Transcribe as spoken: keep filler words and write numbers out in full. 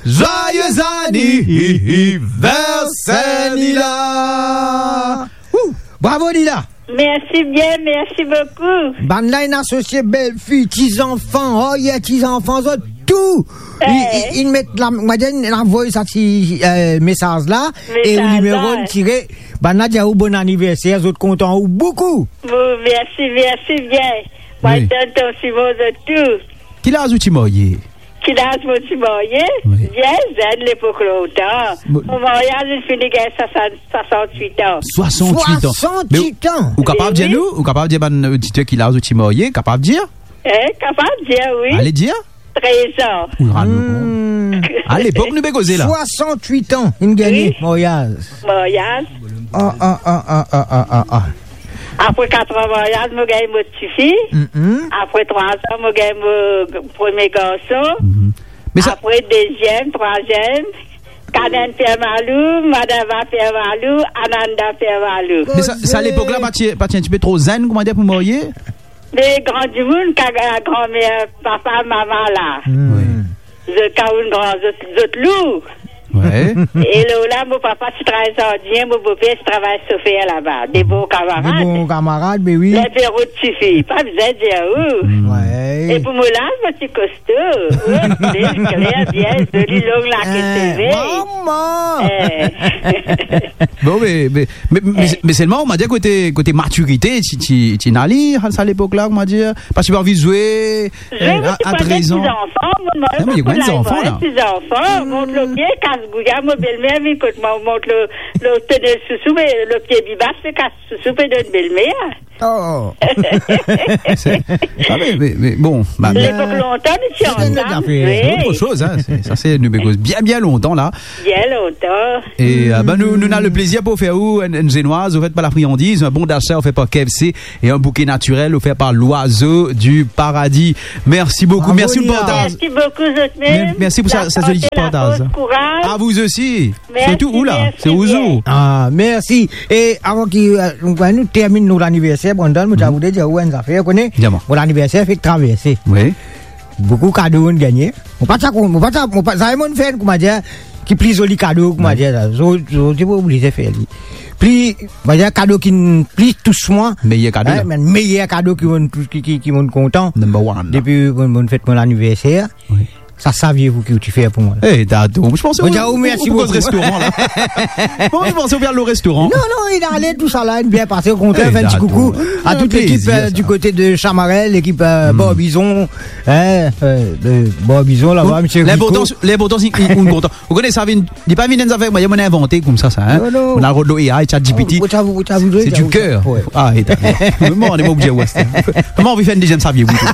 Joyeux anniversaire, Nila! Ou, bravo, Nila! Mersi bien, mersi boukou. Bann la inn asosie belfi, ti zanfan, oh yeah, ti zanfan, zot tou. Inn, inn, inn met la, mo dir, inn avoy sa ti, eh, mesaz la, e ou nimero, inn tire. Bann la dir ou bon anniverser, zot kontan ou boukou. Bon, mersi, mersi bien. Mo donn ton simo zot tou. Ki laz ou ti marye? Ki laz mo ti marye? Wi. Bien zenn, lepok lontan. Mo maryaz inn fini gagn swasant, swasant-wit an. Swasant-wit an. Swasant-wit an. Me ou, ou kapav dir nou, ou kapav dir bann oditer ki laz ou ti marye, kapav dir? Eh, kapav dir, wi. Ale dir. Trez an. Ou rann nou kont. Hmm. A lepok nou pe koze la. Swasant-wit an, inn gagne maryaz. Maryaz. Ah, ah, ah. Apre kat an maryaz, mo gagn mo tifi. Mm-mm. Apre trwa an, mo gagn mo premie garson. Mhm. Me sa... Apre deziem, trwaziem, Kaden Pierre Malou, Madava Pierre Malou, Ananda Pierre Malou. Me sa, sa lepok la, pa ti, pa ti enn tipe tro zenn, kouma dir, pou marye? Me gran dimoun, ka, granmer, papa, mama la. Hmm. Wi. Zot kaounn gran, zot, zot lou. Wi. E lor la, mo papa ti travay zardinye, mo boper ti travay sofer laba. De bon kamarad. De bon kamarad, be wi. Ler pe rod tifi, pa bizin dir ou. Hmm. Wi. E pou mo laz, mo ti kosto. Wi, kler, bien, zoli, long lake seve. Eh, mama! Eh. Bon, me, me, Me, me, me selman, kouma dir, kote, kote matirite, ti, ti, ti ena li, a sa lepok la, kouma dir, parski pa anvi zwe, eh, a, a trez an. Zwe, mo ti pran ti zanfan, mo, mo, non, me pa enn zanfan la. Ti zanfan, mont lor pie, kas gouya, mo belmer vinn kot mwa, mont lor, lor tonel sousou, me lor pie bibas, me kas sousou pe donn belmer. Oh. Se, ah, me, me, me, bon, ba, lepok lontan, nou ti ansam, wi. Autre chose, hein, se, sa se nou pe koz bien, bien lontan la. Bien lontan. E, euh, ben, nou, nou ena leplezir pou ofer ou enn, enn zenoir ofer par La Friandise, enn bon dasa ofer par K F C e enn bouke natirel ofer par Loiseau du Paradis. Mersi boukou. Bravo, Nila. Mersi pou le partaz. Mersi boukou, zot mem. Mer-, mersi pou sa, sa zoli ti partaz. Laforce, kouraz. A vou osi. Mersi, mersi bien. Sirtou ou la, se ou. Ah, mersi. E avan ki, euh, nou, nou terminn nou laniverser, Brandon, mo ti a voudre dir ou enn zafer, ou kone? Dir mwa. Mo laniverser fek traverse. Wi. Boukou kado inn gagne. Mo pa ti a kon-, mo pa ti a, mo pa, zame monn fer, kouma dir, ki pli zoli kado, kouma dir sa. Zot, zot, zot ti pou oblize fer li. Pli, kouma dir, kado ki pli tous mwa. Meyer kado, hein, la. Me meyer kado ki monn tous, ki, ki, ki monn kontan. Number one. Depi monn, monn fet mo laniverser. Wi. Sa, sa savir ou ki ou ti fer pou mwa la. Eh, dadou, mo panse ou, ou, ou, ou koz restoran la. Mo panse ou pe al o restoran. Non, non, inn ale, tousala inn bien pase. Okontrer, fer enn ti koukou a tout lekip, euh, di kote de Chamarel, lekip, euh, Barbizon, hein, euh, de Barbizon laba, misie Rico. Bon, linportan, linportan se ki ou kontan. Ou kone sa vinn, li pa vinn enn zafer mwa, monn invante koumsa sa, hein. Non, non. Monn al rod lor A I, ChatGPT. C'est du cœur. Ah, e dakor. Mo, mo, mo, mo, mo anvi fer enn deziem savir pou ou.